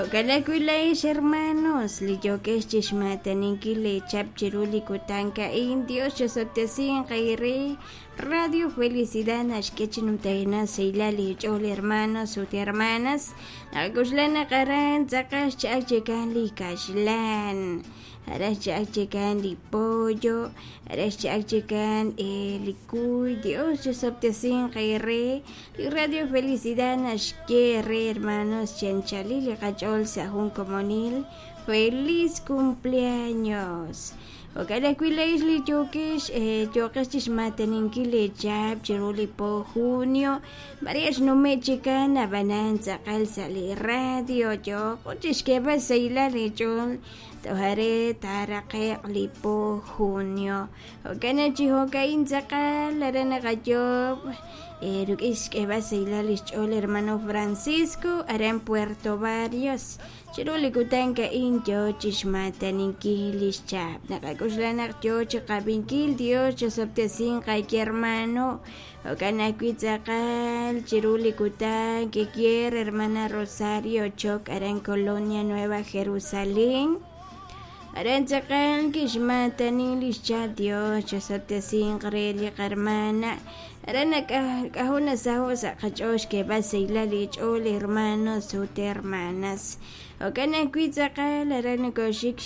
Jo'kan ajwi' laa'ex hermanos li yookex chi xmaataninkil leechap chiru li kutan a'in, Dios chosob'tesinq eere. Radio Felicidad naxk'e chi numtajenaq sahilal leech'ool hermanos ut hermanas. Naqak'oxla naq aran tz'aqal xcha'al chikan li kaxlan, aran xcha'al chikan li pollo, aran xcha'al chikan li kuy. Dios chosob'tesinq eere. Li Radio Felicidad naxye eere hermanos chi anchalil li qach'ool sa' jun komonil. Feliz cumpleaños! Jo'kan ajwi' laa'ex li yookex yooqex chi xmaataninkil leechaab' chiru li po junio, maare xnume' chikan ab'anan tz'aqal sa' li radio yooqo chi xk'eeb'al xsahilal eech'ool toj are taaraqe'q li po junio. Jo'kan naq chi jo'ka'in tz'aqal aran naqayoob' rik'in xk'eeb'al xsahilal li xch'ool hermano Francisco aran Puerto Barrios. Chiru li kutan a'in yoo chixmaataninkil lix chap. Naqak'oxla naq yoo chiqab'inkil Dios chosob'tesinq qake hermano. Jo'kan ajwi' tz'aqal chiru li kutan kikier hermana Rosario Choc aran Colonia Nueva Jerusalén. Aran tz'aqal kixmaatani lix chap Dios chosob'tesinq re li qarmana. Aran k'ajo' nasaho' sa' qach'ool xk'eeb'al sahilal li ch'ool hermanos ut hermanas. Jo'kan ajwi' tz'aqal aran nokoxik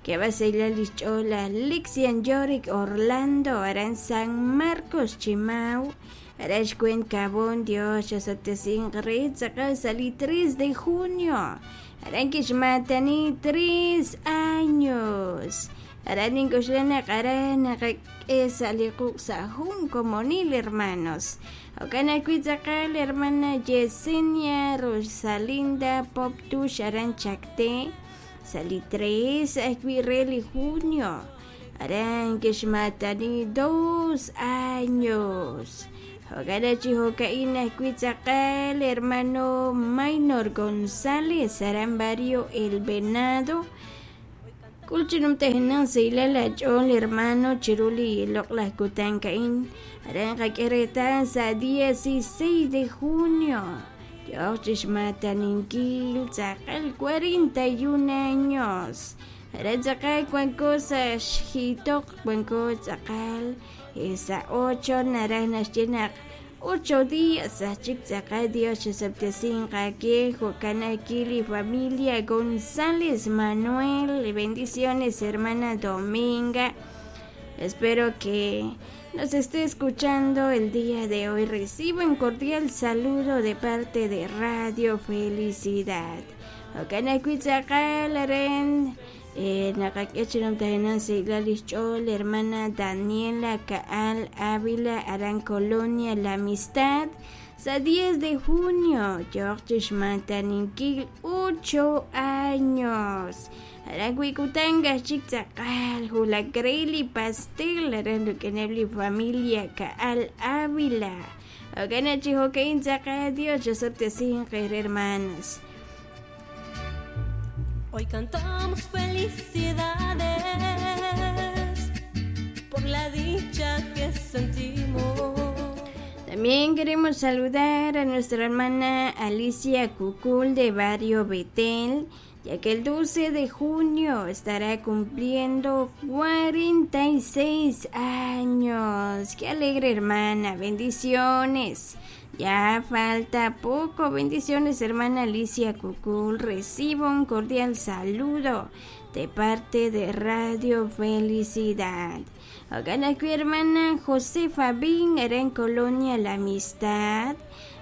xk'eeb'al sahilal li xch'ool laj Lixian Yorick Orlando aran San Marcos Chimau aran xweent Kabon Dios chosob'tesinq re tz'aqal sa' li 3 de junio aran kixmaatani 3 años. Aran nink'oxla naq aran naqak'e sa' li quq' sa' jun komonil hermanos. Jo'kan ajwi' tz'aqal hermana Yesenia Rosalinda Poptux aran Chacté sa' li 3 ajwi' re li junio aran kixmaatani 2 años. Jo'kan chi jo'ka'in ajwi' tz'aqal hermano Maynor González aran barrio El Venado K'ul chi numtajenaq sahilal aach'ool hermano chiru li loq'laj kutan a'in aran qak'e reetal sa' 16 de junio yooq chi xmaataninkil tz'aqal 41 años aran tz'aqal wanko sa' xjiitoq wanko tz'aqal sa' 8 naraj naxye naq 8 días aj chik tz'aqal Dios chosob'tesinq aawe jo'kan ajwi' li familia González Manuel. Bendiciones hermana Dominga. Espero que nos esté escuchando el día de hoy. Recibo un cordial saludo de parte de Radio Felicidad. Jo'kan ajwi' tz'aqal aran naqak'e chi numtajenaq sahilal li xch'ool hermana Daniela Kaal Ávila aran Colonia La Amistad sa' 10 de junio yooq chi xmaataninkil 8 años. Aran wi' kutan aj chik tz'aqal wulak re li pastel aran rik'ineb' li familia Kaal Ávila. Jo'kan naq chi jo'ka'in tz'aqal Dios chosob'tesinq eere hermanos. Hoy cantamos felicidades por la dicha que sentimos. También queremos saludar a nuestra hermana Alicia Cucul de Barrio Betel, ya que el 12 de junio estará cumpliendo 46 años. ¡Qué alegre hermana! Bendiciones. Ya falta poco. Bendiciones, hermana Alicia Cucul. Recibo un cordial saludo de parte de Radio Felicidad. Jo'kan ajwi' hermana Josefa Bin aran Colonia La Amistad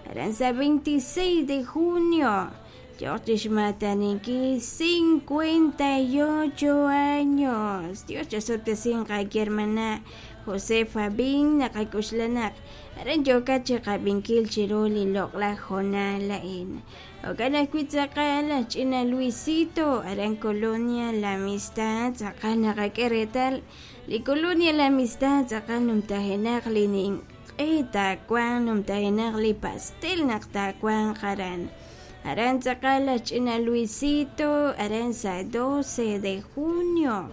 aran sa 26 de junio yooq chi xmaataninkil 58 años. Dios chosob'tesinq aawe hermana Josefa Bin naqak'oxla naq aran yookat chi qab'inkil chiru li loq'laj hoonal a'in. Jo'kan ajwi' tz'aqal laj ch'ina Luisito aran Colonia La Amistad tz'aqal naqak'e reetal li Colonia La Amistad tz'aqal numtajenaq li ninq'e taawanq numtajenaq li pastel naq taawanq aran. Aran tz'aqal laj ch'ina Luisito aran sa' 12 de junio.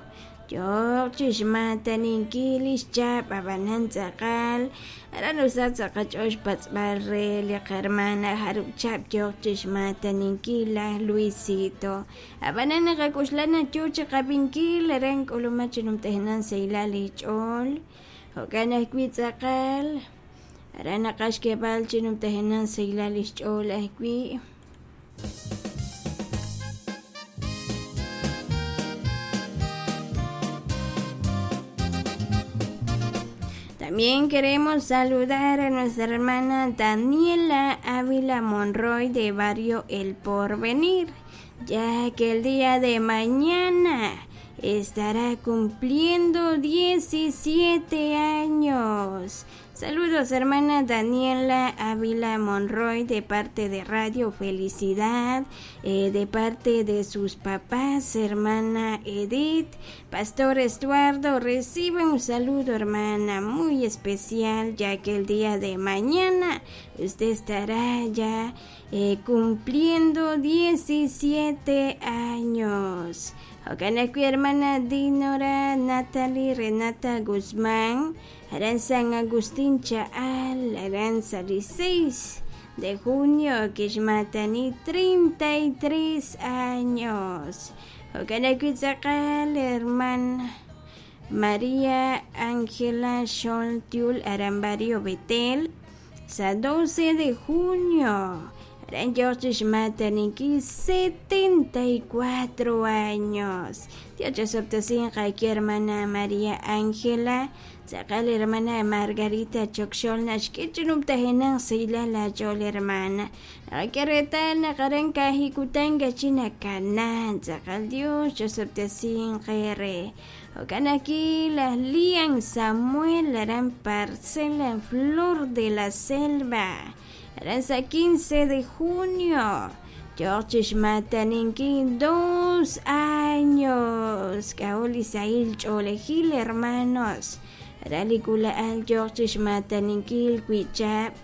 Yooq chi xmaataninkil li xchap ab'anan tz'aqal aran usaq sa' qach'ool xpatz'b'al re li qahermana jarub' chab' yooq chi xmaataninkil laj Luisito. Ab'anan naqak'oxla naq yoo chi qab'inkil aran k'ulumak chi numtajenaq sahilal li ch'ool jo'kan ajwi' tz'aqal aran naqaj xk'eeb'al chi numtajenaq sahilal li xch'ool ajwi'. También queremos saludar a nuestra hermana Daniela Ávila Monroy de Barrio El Porvenir, ya que el día de mañana estará cumpliendo 17 años. Saludos hermana Daniela Ávila Monroy de parte de Radio Felicidad, de parte de sus papás, hermana Edith, Pastor Estuardo, recibe un saludo hermana muy especial, ya que el día de mañana usted estará ya cumpliendo 17 años. Jo'kan ajwi' hermana Dinora Natalie Renata Guzmán, aran San Agustín Cha'al, aran sa li 6 de junio kixmaatani 33 años. Jo'kan ajwi' tz'aqal hermana María Ángela Xoltiul aran Barrio Betel, sa 12 de junio aran yooq chi xmaataninkil 74 años. Dios chosob'tesinq aki hermana María Ángela, tz'aqal hermana Margarita Chokxol naxk'e chi numtajenaq sahilal ach'ool hermana. Naqak'e reetal naq aran kajikutan kachi nakana tz'aqal Dios chosob'tesinq re. Jo'kan ajwi' laj Lian Samuel aran Parcela Flor de la Selva, aran sa 15 de junio yooq chi xmaataninkil 2 años. K'a'ut li sahil ch'oolejil hermanos, aran li k'ula'al yooq chi xmaataninkil wi'chab'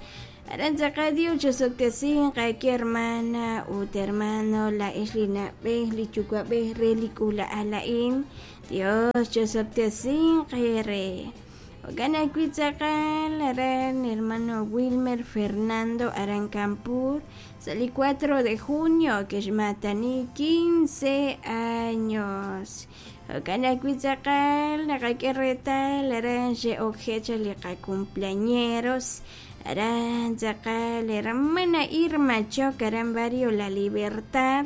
aran tz'aqal Dios chosob'tesinq aki hermana ut hermano la'ex li na'b'ej li yuwa'b'ej re li k'ula'al a'in. Dios chosob'tesinq re. Jo'kan ajwi' tz'aqal aran hermano Wilmer Fernando aran Campur, sa li 4 de junio kixmaatani 15 años. Jo'kan ajwi' tz'aqal naqak'e reetal aran xe'okjecha li qacumpleañeros aran tz'aqal hermana Irma Choc aran Barrio La Libertad,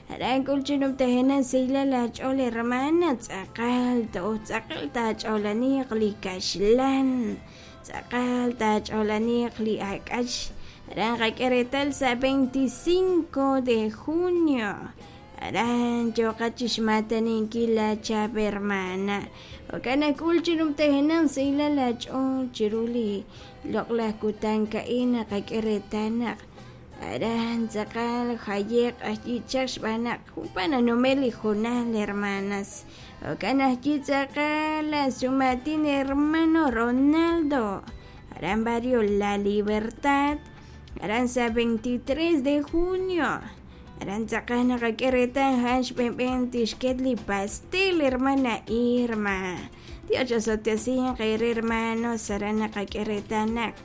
aran k'ul chi numtajenaq sahilal ach'ool hermana tz'aqal to'oj tz'aqal taach'oolaniq li kaxlan tz'aqal taach'oolaniq li ak'ach aran qak'e reetal sa 25 de junio aran yooqat chi xmaataninkil la chab' hermana. Jo'kan ajk'ul chi numtajenaq sahilal ach'ool chiru li loq'laj kutan ka'in naqak'e reetal naq aran tz'aqal jayeq ajyichaq xb'aan naq junpa nanumel li junal hermanas. Jo'kan ajyi tz'aqal la sumatin hermano Ronaldo aran Barrio La Libertad, aran sa 23 de junio aran tz'aqal naqak'e reetal jan xb'enb'en tixket li pastel hermana Irma. Dios chosob'tesinq re hermanos aran naqak'e reetal naq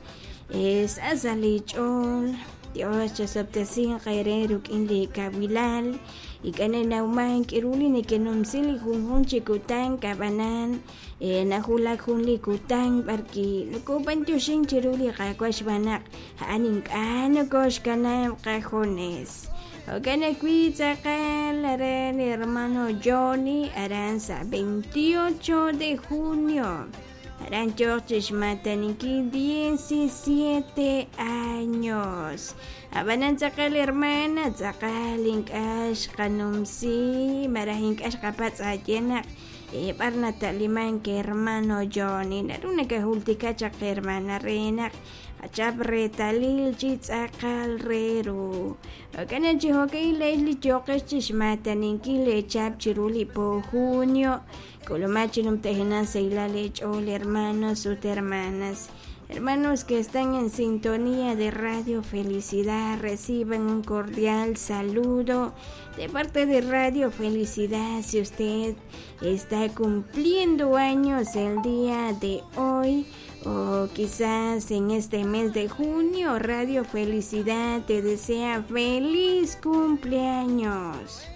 sa' li ch'ool Dios chosob'tesinq re ruk'in li kawilal ik'an nawman k'iru li neke'numsi li junjun chi kutan kab'anan najulak jun li kutan b'arki nokob'antioxin chiru li Qaawa' xb'aan naq a'an ink'a' nokoxkanab' qajunes. Jo'kan ajwi' tz'aqal aran hermano Johnny aran sa 28 de junio aran yooq chi xmaataninkil 17 años. Ab'anan tz'aqal hermana tz'aqal ink'a' xqanumsi maraj ink'a' xqapatz' aye naq b'ar nata'liman ke hermano Johnny naru nakajultika chaq hermana re naq qachap reetalil chi tz'aqal re ru. Jo'kan chi jo'kan la'ex li yooqex chi xmaataninkil leechap chiru li po junio k'ulumak chi numtajenaq sahilal leech'ool hermanos ut hermanas. Hermanos que están en sintonía de Radio Felicidad, reciban un cordial saludo de parte de Radio Felicidad. Si usted está cumpliendo años el día de hoy o quizás en este mes de junio, Radio Felicidad te desea feliz cumpleaños.